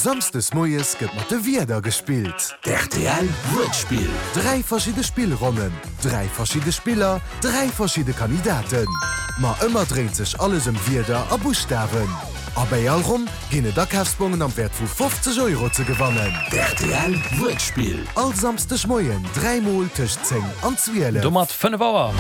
Samsdes moies gëtt mat de Wierder gespillt. D'RTL Wuertspill. 3 verschidde Spillronnen, 3 verschidde Spiller, 3 verschidde Kandidaten. Ma ëmmer dréint sech alles ëm Wierder a Buschtawen. A bäi all Ronn ginn et Akafsbongen am Wäert vu 50 Euro ze gewannen. D'RTL Wuertspill. All Samsdeg Moien 3 mol tëscht 10 an 12. Domat 5 Auer.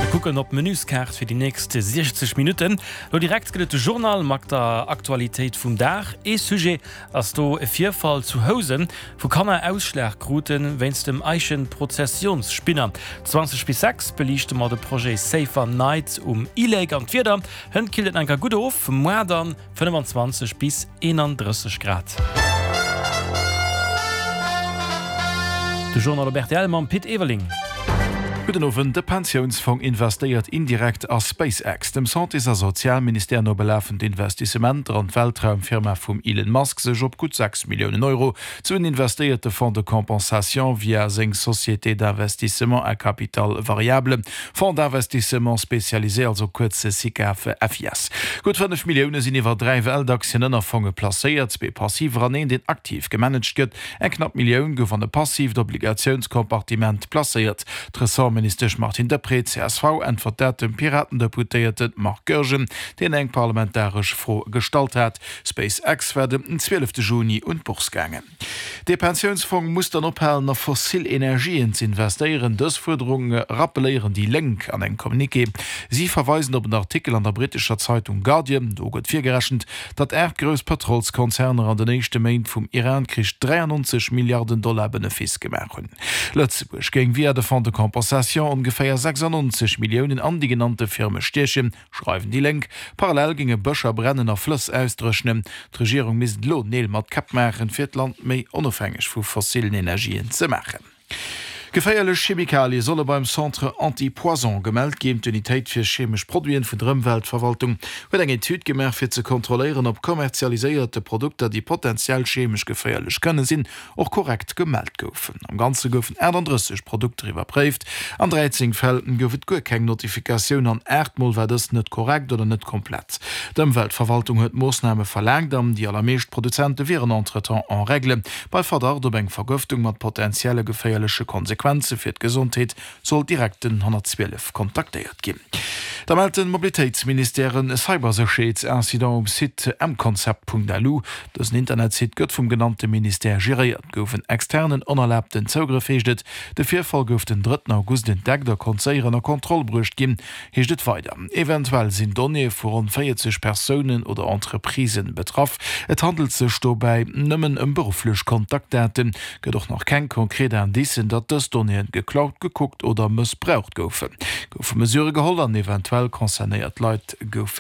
Mir kucken op d'Menüskaart fir déi nächst 60 Minutten. Lo direkt gëtt et de Journal mat der Aktualitéit vum Dag. Ee Sujet ass do e Virfall zu Housen, wou Kanner Ausschlag krute wéinst dem Eichenprozessionsspinner. 20 bis 6 beliichte mer de Projet Safer Night um e-Lake an d'Wieder. Hënt killt et nach enker gutt of, moar dann 25 bis 31 Grad. De Journal op rtl mam Pit Everling. Gudden Owend. De Pensiounsfong investéiert indirekt a SpaceX. Dem Santés a Sozialministère no belafen d'Investissementer an d'Weltraumfirma vum Elon Musk sech op gutt 6 Milliounen Euro. D'Suen investéiert de Fonds de compensation via seng Société d'investissement à capital variable, Fonds d'investissement spécialisé, also kuerz SICAV FIS. Gutt 5 Millioune sinn iwwer 3 Weltaktien-Ënnerfonge placéiert, zwee passiver an een, deen aktiv gemanagt gëtt. Eng knapp Millioun gouf an e passiivt Obligatiounskompartiment placéiert. D'Ressortministesch Martine Deprez, csv, äntwert dat dem Piraten-Deputéierte Marc Goergen, deen eng parlamentaresch Fro gestallt hat. SpaceX war den 12 Juni un d'Bourse gaangen. Dee Pensiounsfong muss dann ophalen a fossil Energien z'investéieren. Dës Fuerderung rappeléieren déi Lénk an engem Communiqué. Si verweisen op en Artikel an der brittescher Zeitung Guardian. Do gëtt virgerechent, datt 8 grouss Pëtrolskonzerner an den éischte Méint vum Iran-Krich 93 Milliarden Dollar Benefice gemaach hunn. Lëtzebuerg géing via de Fonds de compensation ongeféier 96 Milliounen an déi genannte Firme stiechen. Schreiwen déi Lénk. Parallel géinge Bëscher brennen a Flëss ausdréchnen. D'Regierung misst elo Neel mat Käpp maachen, fir d'Land méi onofhängeg vu fossillen Energien ze maachen. Geféierlech Chemikalie solle beim Centre Anti-Poison gemellt ginn. D'Unitéit fir chemesch Produiten vun der Ëmweltverwaltung huet eng Etüd gemaach, fir ze kontrolléieren, ob kommerzialiséierte Produkter, déi potenziell chemesch geféierlech kënne sinn, och korrekt gemellt goufen. Am Ganze goufen 38 Produkter iwwerpréift. An 13 Fäll gouf et guer keng Notifikatioun an 8 Mol war dës net korrekt oder net komplett. D'Ëmweltverwaltung huet Moossname verlaangt an déi allermeescht Produzente wieren entretemps en règle. Bei Verdacht op eng Vergëftung mat potentielle geféierleche Konsequenze fir d'Gesondheet soll direkt den 112 kontaktéiert ginn. Da mellt de Mobilitéitsministère e Cybersécherheetsincident um Site mconcept.lu. Dësen Internetsite gëtt vum genannte Ministère geréiert. Gouf en externen onerlaabten Zougrëff, heescht et. De Virfall gouf den drëtten August entdeckt a konnt séier ënner Kontroll bruecht ginn, heescht et weider. Eventuell sinn Donnéeë vu ronn 40 Persounen oder Entreprisen betraff. Et handelt sech dobäi nëmmen ëm berufflech Kontaktdaten. Gëtt och nach keng konkret Indicen, datt dës Donnéeën geklaut, gekuckt oder mëssbraucht goufen. Goufe Mesurë geholl an eventuell concernéiert Leit goufe.